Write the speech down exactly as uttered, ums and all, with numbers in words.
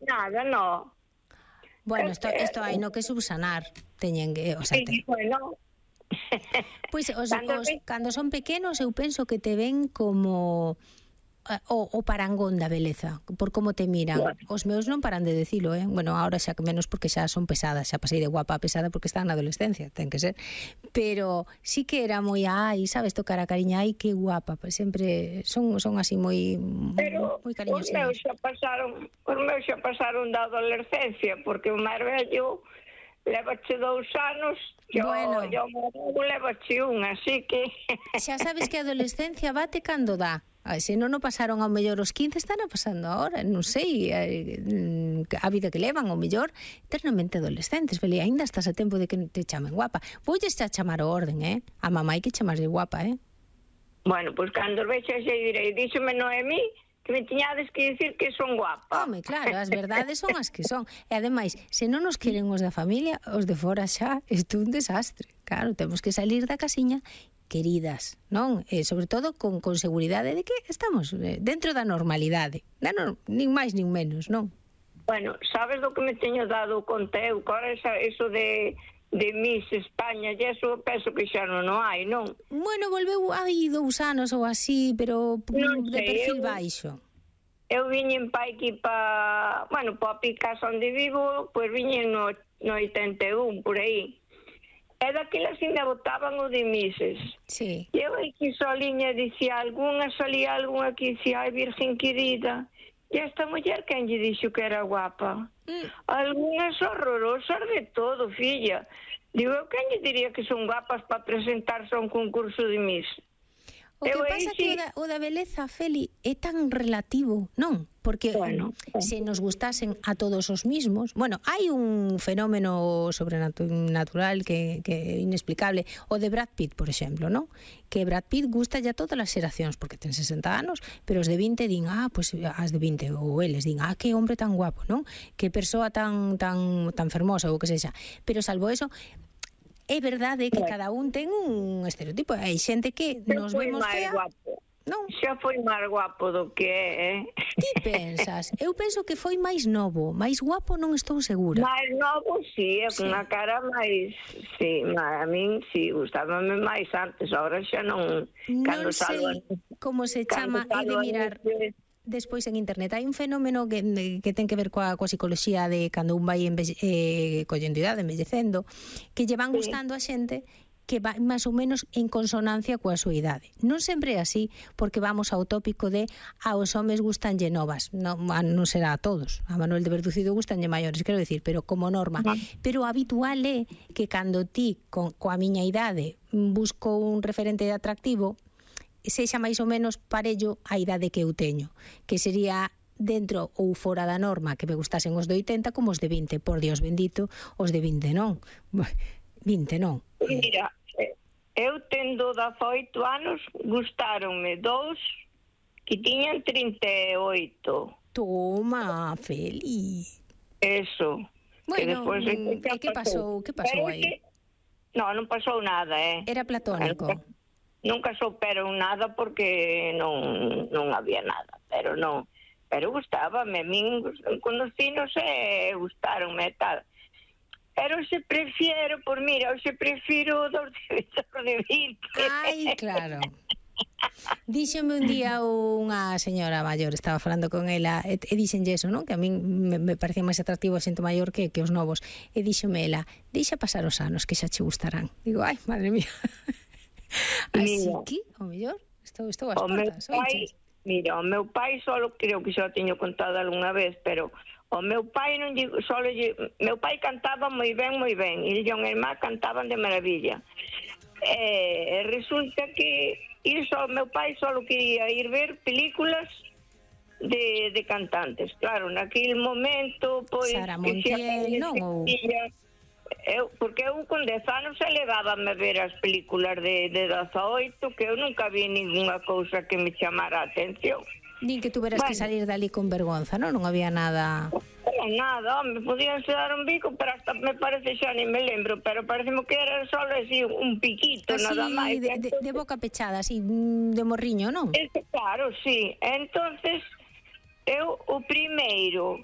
Nada, no. Bueno, isto, isto hai no que subsanar. Teñen que, o sea, te... Sí, bueno. Pois os, Cando os, ve- cando son pequenos eu penso que te ven como eh, o, o parangón da beleza, por como te miran. Bueno. Os meus non paran de decilo, eh? Bueno, ahora xa que menos porque xa son pesadas, xa pasei de guapa a pesada porque están na adolescencia, ten que ser. Pero sí que era moi, ai, sabes, tocar a cariña, ai, que guapa, pues sempre son son así moi Pero moi os cariñosos. meus xa pasaron, os meus xa pasaron da adolescencia, porque o máis vello levache dous anos, yo, Bueno. yo levache un, así que... Xa sabes que a adolescencia bate cando dá. Ai, se non o pasaron ao mellor os quince, están a pasando agora, non sei, eh, a vida que levan, ao mellor, eternamente adolescentes, vele, ainda estás a tempo de que te chamen guapa. Voulles xa chamar o orden, eh? A mamá hai que chamarlle guapa, eh? Bueno, pois pues, cando vexa xe direi, díxome Noemí que me tiñades que dicir que son guapa. Home, claro, as verdades son as que son. E ademais, se non nos queren os da familia, os de fora xa, isto é un desastre. Claro, temos que salir da casiña queridas, non? E sobre todo con, con seguridade de que estamos dentro da normalidade, da no, nin máis nin menos, non? Bueno, sabes do que me teño dado conta eu? Cora esa, eso de, de Miss España, e eso penso que xa non o hai, non? Bueno, volveu hai dous anos ou así, pero Non de sei, perfil eu- baixo. Eu viñen pa aquí pa, bueno, pa Picasso onde vivo, pois viñen no, no oitenta e un, por aí. E daquela así me botaban o de Misses. Sí. E eu aquí soliña dicía, algunha salía algunha que dicía, ai, virgen querida, e esta muller quen lle dixo que era guapa? Mm. Algunhas horrorosas de todo, filla. Digo, eu quen lle diría que son guapas para presentarse a un concurso de Miss? O que Eu aí pasa que sí. o da, o da beleza, Feli, é tan relativo, non? Porque Bueno, se nos gustasen a todos os mismos, bueno, hai un fenómeno sobrenatural que, que é inexplicable, o de Brad Pitt, por exemplo, non? Que Brad Pitt gusta ya todas as xeracións, porque ten sesenta anos, pero os de vinte din, ah, pues as de vinte, ou eles din, ah, que hombre tan guapo, non? Que persoa tan tan tan fermosa, ou que sexa. Pero salvo eso, é verdade que cada un ten un estereotipo. Hai xente que nos foi vemos máis fea, guapo. non? Xa foi máis guapo do que é, eh? Ti pensas? Eu penso que foi máis novo, máis guapo non estou segura. Máis novo, sí, é Sí. con a cara máis... Sí, a min, sí, gustábame máis antes, ahora xa non... Non sei como se chama, he de mirar De... despois en internet. Hai un fenómeno que, que ten que ver coa, coa psicología de cando un vai envelle, eh, collendo idade, envellecendo, que lle van Sí. gustando a xente que va máis ou menos en consonancia coa súa idade. Non sempre é así, porque vamos ao tópico de a os homes gustanlle novas. Non, non será a todos. A Manuel de Verducido gustanlle maiores, quero decir, pero como norma. Ah. Pero o habitual é que cando ti, con, coa miña idade, busco un referente atractivo, sexa máis ou menos parello a idade que eu teño, que sería dentro ou fora da norma que me gustasen os de oitenta como os de vinte, por Dios bendito, os de vinte non. vinte non. Mira, eu tendo dezaoito anos, gustáronme dous que tiñan trinta e oito. Toma, Feli. Eso. Bueno, despois é e que pasou? Que pasou Pero aí? que... No, non pasou nada, eh. Era platónico. Nunca souperon nada porque non non había nada, pero non, pero gustábame, a min conocinos e gustaronme e tal. Pero se prefiero, por mira, eu se prefiro dos de, dos de vinte. Ai, claro. Díxome un día unha señora maior, estaba falando con ela, e, e díxenlle eso, non? Que a min me, me parecía máis atractivo a xente maior que, que os novos. E díxome ela, deixa pasar os anos que xa che gustarán. Digo, ai, madre mía. Así Mira. que, o mellor, estou, estou ás O meu portas. pai, oiches? mira, o meu pai solo, creo que xa o teño contado algunha vez, pero o meu pai non lle, solo lle, meu pai cantaba moi ben, moi ben, e o meu irmán cantaban de maravilla. E resulta que iso, meu pai solo quería ir ver películas de, de cantantes. Claro, naquele momento, pois... Sara Montiel, non? Ou... Eu, porque eu con dez anos se levábame a ver as películas de, de dezaoito, que eu nunca vi ninguna cousa que me chamara a atención. Nin que tuveras bueno. que salir dali con vergonza, non? Non había nada... Non, nada, me podían se dar un bico, pero hasta me parece xa ni me lembro, pero parece que era solo así un piquito, así, nada máis. De, de, de boca pechada, así, de morriño, non? Ese, claro, sí. Entonces, eu o primeiro